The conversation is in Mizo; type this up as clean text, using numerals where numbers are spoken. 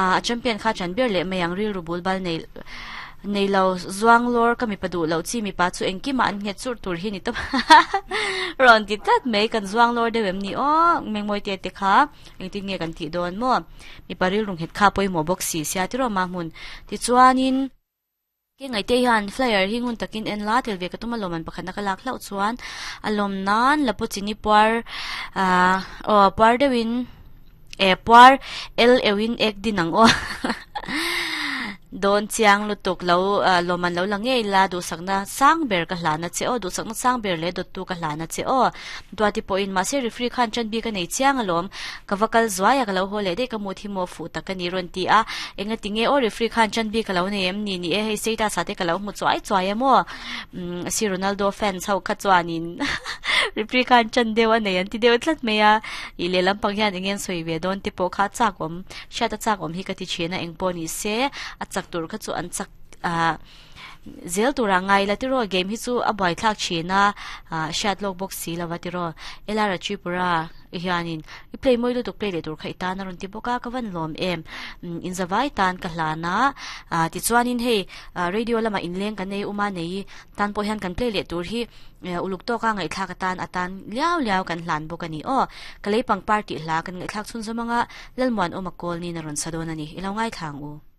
A champion kha chan ber leh mai ang rilru bul bal nei nei lo zuang lawr ka mipa duh loh chi mipa chu engkimah an nghet churh tur hi ni tawp rawn ti tlat mai kan zuang lawr deuh em ni aw mengmawi te te kha engtin nge kan tih dawn maw mipa rilru nghet kha pawimawh bawk si sia tiraw mahmun tichuanin. Ke ngaihte hian flyer hi ngun takin en la tel ve ka tum a lawm an pakhatna ka lak hlauh chuan a lawm nan lapu chini puar ah aw puar deuhin eh puar el euhin ek din ang aw dawn chiang lutuk lo ah lawm an lo la ngei la duhsakna sang ber ka hlana che aw duhsakna sang ber leh dawttu ka hlana che aw Duati pawhin mahse referee khan ṭan bik a nei chiang alawm, ka va kal zuai a ka lo haw leh daih ka mut hi maw fuh tak a ni rawn ti a, engati nge aw referee khan ṭan bik a lo nei em ni ni e hei status ah te ka lo hmu chuai chuai a maw umm si Ronaldo fans ho kha chuanin referee khan ṭan deuh a nei an ti deuh tlat mai a, ih lehlam pang hian eng nge an sawi ve dawn te pawh kha a chak awm hriat a chak awm hi ka ti ṭhin a engpawh ni se a chak tur kha chu an chak ah. Zel tura ngai la tiraw game hi chu a buaithlak thin a, hriat lawk bawk si lova tiraw. Elara Tripura hianin i play mawi lutuk play leh tur kha i tan a rawn ti bawk a, ka van lawm em. In zavai tan ka hlan a, tichuanin hei radio lamah inleng kan nei uma nei tan pawh hian kan play leh tur hi uluk tawka ngaihthlak atan a tan liau liau kan hlan bawk a ni aw. Ka lei pangpar tih hla kan ngaihthlak chhunzawm anga Lalmuanawma Kawlnin a rawn sa dawn a ni, i lo ngaithla ang u.